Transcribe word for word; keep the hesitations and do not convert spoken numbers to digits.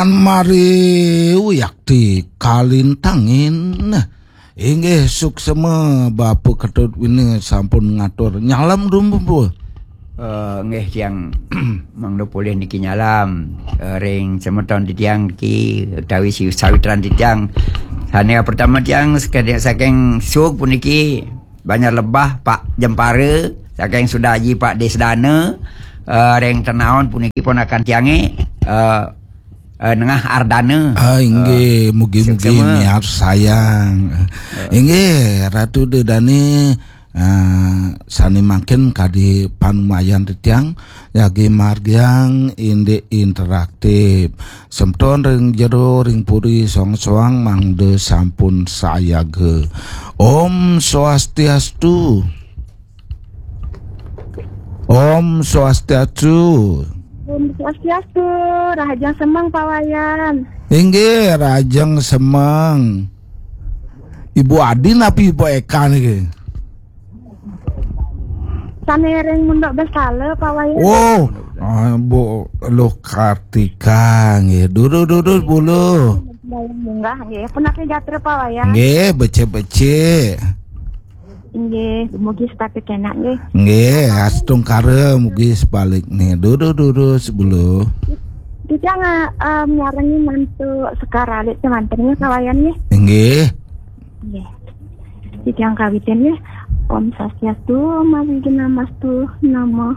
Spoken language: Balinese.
Mari uyakti kalintangin. Inggih, suksema Bapa Ketut Wina sampun ngatur. Nyalam dumpu. Eh, nggih, tiang mangda polih niki nyalam, eh, ring semeton titiang niki utawi si sawitran titiang. Sane pertama tiang sekadi saking Sug puniki Banjar Lebah Pak Jempara, saking Sudaji Pak Desdana, eh, ring Tenaon puniki ponakan tiange, eh, eh, Nengah Ardana. Ah, inggih, eh, mugi-mugi suksema. Miarsayang. Eh. Inggih, Ratu Dedane, eh, sane mangkin kadi panumayan titiang, jagi margiang indik interaktif. Semeton ring jero ring puri soang-soang mangda sampun sayaga. Om Swastiastu. Om Swastiastu. Om Swastiastu, rahajeng semeng Pak Wayan. Inggih, rahajeng semeng. Ibu Adi napi Ibu Eka niki? Sane ring Munduk Besala Pak Wayan. Oh, ah, Bu Luh Kartika nggih. Durus-durus bulu. Munggah nggih. Punapa gatra Pak Wayan? Nggih, becik-becik. Inggih, mugi setata kenak nggih. Nggih, astungkara mugi sebalikne. Durus-durus bulu. Kita nga, eh, miarengi mantu Sekar Alit semanten nggih, Pak Wayan nggih. Inggih. Nggih. Kita kawitin nggih. Om Swastiastu, Om Awighnamastu, Namo